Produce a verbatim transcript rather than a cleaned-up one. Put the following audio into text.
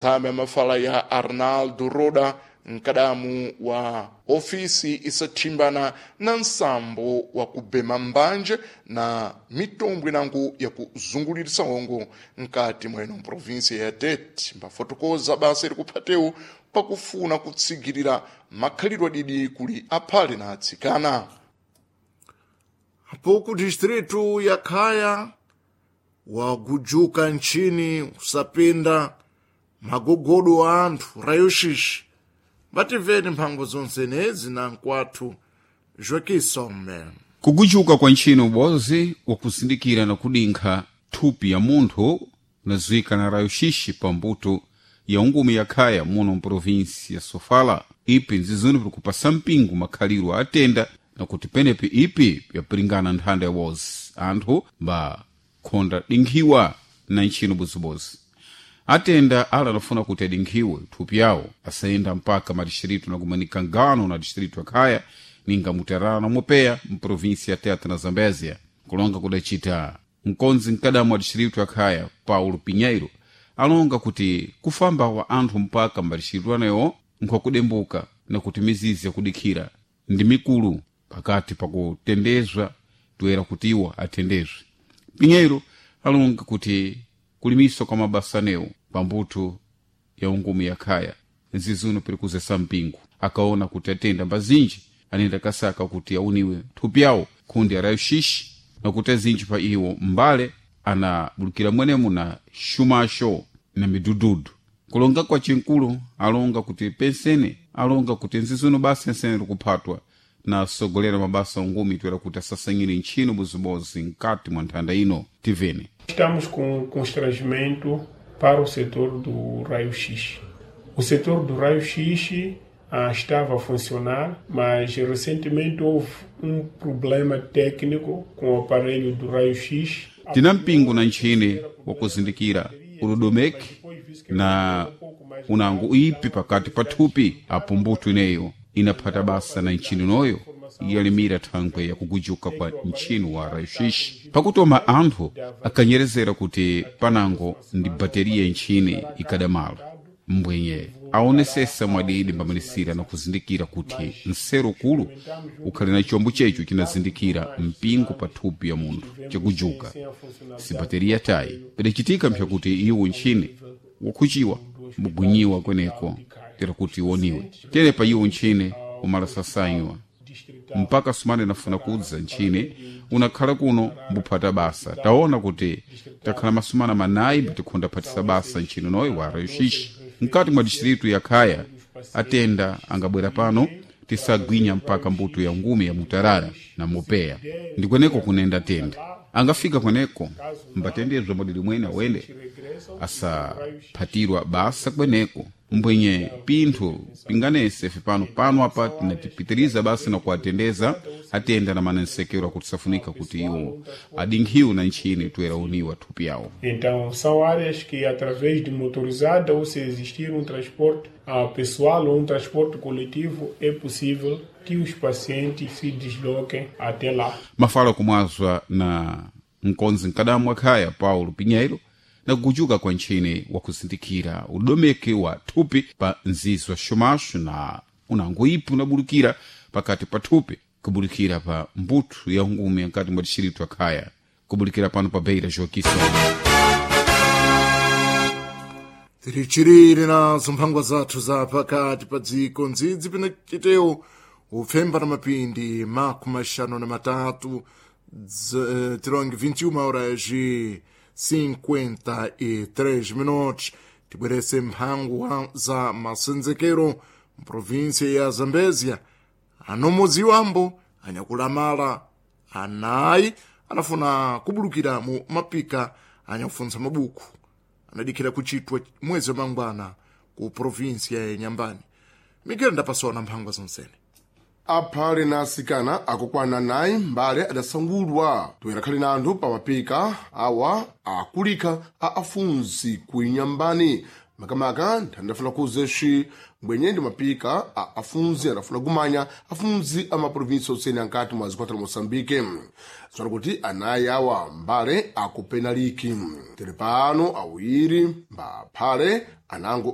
Thame mafala ya Arnaldo Roda, mkadamu wa ofisi isathimbana na nsambo wa kubema mbanje na mitombwe nangu ya kuzungulirisa hongo nkati mweno mprovinsia ya Tete, mbafotokoza basa ilikuphatewu pakufuna kutsigirira makhalidwe adidi kuli aphale na atsikana. Apo distritu ya Khaya wagujuka nchini usapinda magogodo a anthu rayoshishi vativeni mphango zonsenezi na nkwathu Joaquim Kugujuka kwa ntchino ubozi wakuzindikira na kudinkha thupi ya munthu unadziwika na rayo-xixi pambuto ya ungumi ya khaya muno mprovinsi ya Sofala. Ipi nzizuni pikupasa mpingo makhaliro a atenda na kuti penepi ipi yapiringana nthanda ya wozi anthu mbakhonda dinkhiwa na ntchino bozibozi. Atenda ala anafuna kuti adinkhiwe thupi yawo asayenda mpaka madixiritu nakumanika ngano na distrito ya Khaya ninga Mutarara na Mopeya mprovinsi ya Tete na Zambézia. Kulonga kudacita mkonzi mkadamu wa distrito ya Khaya Paulo Pinheiro alonga kuti kufamba wa anthu mpaka mbadixiritu anewo nkhwakudembuka na kuti mizizi yakudikhira ndi mikulu pakati pakutendezwa toera kuti iwo atendezwe. Pinheiro alonga kuti kulimiswa kwa mabasa anewo pambuto ya ungumi ya khaya nzizuno pirikuzesa mpingo akaona kuti atenda mbazinji anenda kasaka kuti auniwe thupi yawo khundi ya rayo-xixi na kuti azinji pa iwo mbale anabulukira mwenemo na xumaxo na midududu. Kulonga kwa cinkulu alonga kuti pensene alonga kuti nzizuno basa ensene likuphatwa na asogolera mabasa ungumi toera kuti asasanyire ntchino bozibozi nkati mwa nthanda ino. Tivene Estamos com constrangimento para o setor do raio-x. O setor do raio-x ah, estava a funcionar, mas recentemente houve um problema técnico com o aparelho do raio-x. Tina mpingo na ntchine wakuzindikira udodomeke na unango ipi pakati pa thupi apo mbuto ineyo inaphata basa na ntchino noyo yalimira thangwe yakugujuka kwa ntchino wa rayo-xixi pakutoma anthu akanyerezera kuti panango ndi bateriya ntchine ikadamala mbwenye aonesesa mwadidi mbamanisira na kuzindikira kuti nsero kulu ukhali na chombo checho chinazindikira mpingo pa thupi ya munthu chakujuka si bateriya tayi pidacitika mpyakuti iwo ntchine wakhuciwa mbugwinyiwa kweneko tera kuti iwoniwe tere pa iwo ntchine umalasasanywa mpaka sumane nafuna kudza ntchine unakhala kuno mbuphata basa taona kuti takhala masumana manayi mbatikhonda phatisa basa ntchino noyo wa rayo-xixi mkati mwa distritu ya Khaya. Atenda angabwera pano tisagwinya mpaka mbuto ya ngumi ya Mutarara na Mopeya ndi kweneko kunenda tenda angafika kweneko mbatendezwa mwadidi mwene awende asaphatirwa basa kweneko mbwenye pinthu pinganese ife pano pano apa tinatipitiriza basi na kuatendeza atenda na manensekero akuti safunika kuti iwo adinkhiwe na ntchini toera uniwa thupi yawo. Então, são áreas que, através de motorizada ou se existir um transporte ah, pessoal ou um transporte coletivo, é possível que os pacientes se desloquem até lá. Mafala kumwazwa na mkonzi mkadamu wa Khaya Paulo Pinheiro na kugujuka kwa ntchine wakuzindikira udomeke wa thupi pa nzizi wa xumaxo na unango ipi unabulukira pakati pa thupi kubulikira pa mbuto ya ngumi nkati mwa dixiritu ya Khaya kubulikira pano pa Beira Joaquim. Tirichiriri nazo mphangwa zathu za pakati pa dziko ndzidzi pina chitewu upfemba na mapindi makumi axanu na matatu dz- eh, tironge vinte e uma horas e cinquenta e três minutos. Tibwerese mphangwa za masenzekero mprovinsia ya Zambezia. Anomudziwambo anyakulamala anayi anafuna kubulukira mu mapika anyakufunsa mabuku anadikhira kuchitwa mwezi wa mangwana ku provinsia ya Nyambani. Miguel ndapasona mphangwa zonsene. Aphale na asikana akukwana nayi mbale adasangulwa toera khali na anthu pamapika awa akulikha a afunzi ku Inyambani. Makamaka nthandafuna kuzeshi mbwenye ndi mapika a afunzi adafuna kumanya afunzi a maprovinsi osene ankati mwa zikwata la Moçambique. Zona kuti anayi awa mbale akupenaliki tere pano awiri mbaphale anango